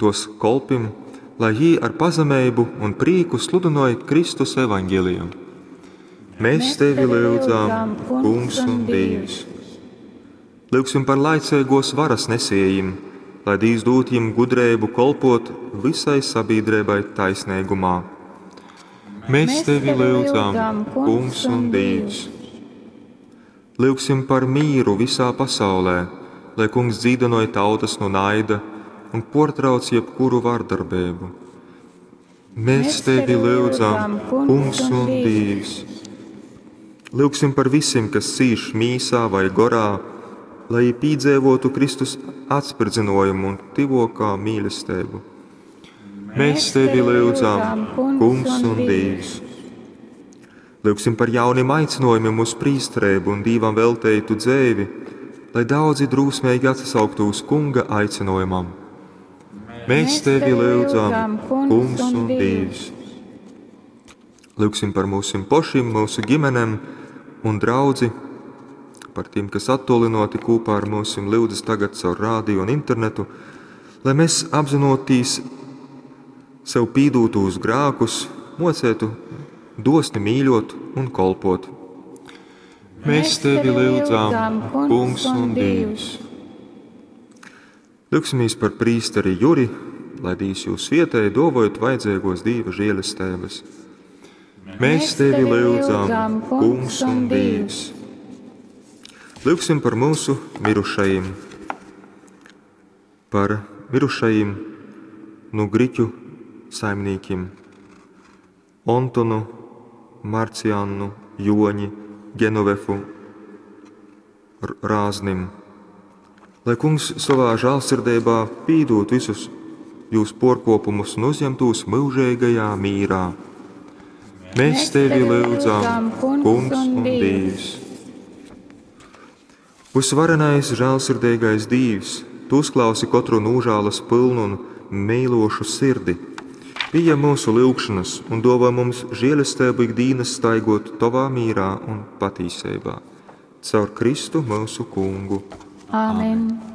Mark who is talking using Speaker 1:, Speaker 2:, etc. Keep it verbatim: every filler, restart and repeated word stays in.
Speaker 1: tos kolpim, lai jī ar pazemeibu un prīku sludynoj Kristus evaņgeliju. Mēs tevi lyudzam, Kungs un Dīvs. Lyugsim par laiceigōs varas nesiejim, lai Dīvs dūd jim gudreibu kolpot visai sabiedrībai taisneigumā. Mēs tevi lyudzam, Kungs un Dīvs. Lyugsim par mīru visā pasaulē, lai Kungs dzīdynoj tautas no naida un portrauc jebkuru vardarbību. Mēs tevi lyudzam, Kungs un Dīvs. Lyugsim par visiem, kas cīš mīsā vai gorā, lai pīdzīvotu Kristus atspridzinājumu un tivokā mīlestību. Mēs tevi lyudzam, Kungs un Dīvs. Lyugsim par jauniem aicinājumiem uz prīsterību un Dīvam velteitu dzēvi, lai daudzi drūsmīgi atsasauktu uz Kunga aicinājumam. Mēs tevi lyudzam, Kungs un Dīvs. Lyugsim par mūsim pošim, mūsu ģimenēm un draudzi, par tiem, kas attolinoti kopā ar mūsim lyudzas tagad caur rādio un internetu, lai mēs apzinotīs sev pīdūtūs grākus, mocētu dosni mīļot un kolpot. Mēs tevi lyudzam, Kungs un Dīvs. Lyugsimies par prīsteri Juri, lai Dīvs jūs svietēja, dovojot vajadzīgos Dīva žēlestības. Mēs tevi lyudzam, Kungs un Dīvs. Lyugsim par mūsu mirušajiem, par mirušajiem no griķu saimniekiem Ontonu, Marciannu, Joņi, Genovefu, Rāznim. Lai Kungs savā žēlsirdībā pīdūt visus jūs porkopumus un uzņemtos mūžīgajā mīrā. Mēs tevi lyudzam, Kungs un Dīvs. Visvarenais, žēlsirdīgais Dīvs, tu uzklausi katru nūžālas pilnu un mīlošu sirdi. Pieņem mūsu lūgšanas un dāvā mums žēlastību ikdienas staigot tovā mīrā un patīsībā. Caur Kristu mūsu Kungu.
Speaker 2: Āmen.